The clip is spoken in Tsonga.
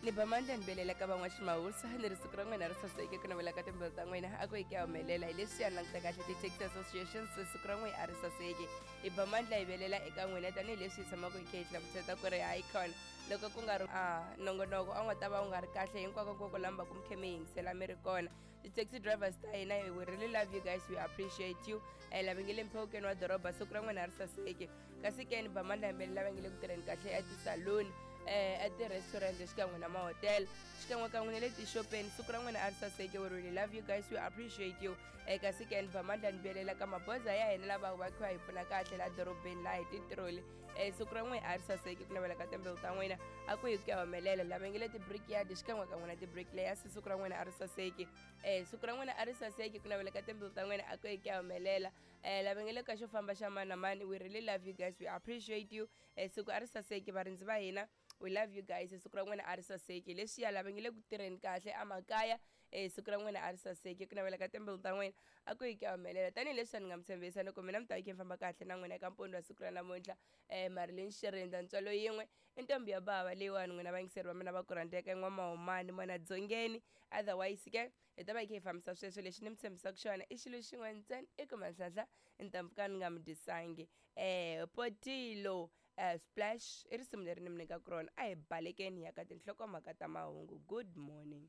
Ni ba mandla ni belela ka van'waximawusa ni ri siku ra n'wina ri saseke ku navela ka timbilu ta n'wina a ku yi ku ya humelela hi leswi ya languta kahle ti-taxi associations siku ra n'wina a ri saseki. Hi ba mandla hi velela eka n'wina tanihileswi hi tshamaka hi kha hi hlamuseta ku ri hayi khona loko ku nga ri a nongonoko a wu nga ta va wu nga ri kahle hinkwako nkwako lamba ku mi khe mi yingisela mi ri kona. Ti-taxi drivers ta hina, we really love you guys, we appreciate you. Lava nge le mphewukeni wa doroba, siku ra n'wina a ri saseki. Kasi ke ni ba mandla hi belela lava nge le ku tirheni kahle etisaluni, eti-restaurant xikan'we na mahotela, xikan'we kan'we na le tixopeni, siku ra n'wina a ri saseke. We really love you guys, we appreciate you. Kasi ke ni ba mandla ni belela ka maboza ya hina lava va kha hi pfuna kahle laha dorobeni laha hi titiroli, siku ra n'wina a ri saseki ku navela ka timbewu ta n'wina a ku hi ku ya humelela. Lava nge le ti-brickyard xikan'we kan'we na ti-bricklayers, siku ra n'wina a ri saseki. Siku ra n'wina a ri saseki ku navela ka timbewu ta n'wina a ku hi ku ya humelela. Lava nge le ka xo famba xa mani na mani, we really love you guys, we appreciate you. Siku a ri saseki varindzi va hina, we love you guys, siku ra n'wina a ri saseki. Leswiya lava nge le ku tirheni kahle emakaya, siku ra n'wina a ri saseki ku navela ka timbilu ta n'wina a ku yi ku ya humelela. Tanihileswi a ni nga mi tshembisa loko mina mi ta yi khe mi famba kahle na n'wina eka mpundzu wa siku ra namuntlha, Marilyn Xirindza ntswalo yin'we i ntombi ya bava leyiwani. N'wina vayingiseri va mina va ku rhandzeka n'wamahumani mwana dzongeni, otherwise ke hi ta va hi kha hi fambisa sweswo. Lexi ni mi tshembisaka xona i xilo xin'we ntsena, i ku manhlanhla ntampfuka ni nga mi dyisangi. Potilo splash i risimu leri ni mi nyikaka rona. A hi balekeni hi ya ka tinhlokomhaka ta mahungu. Good morning.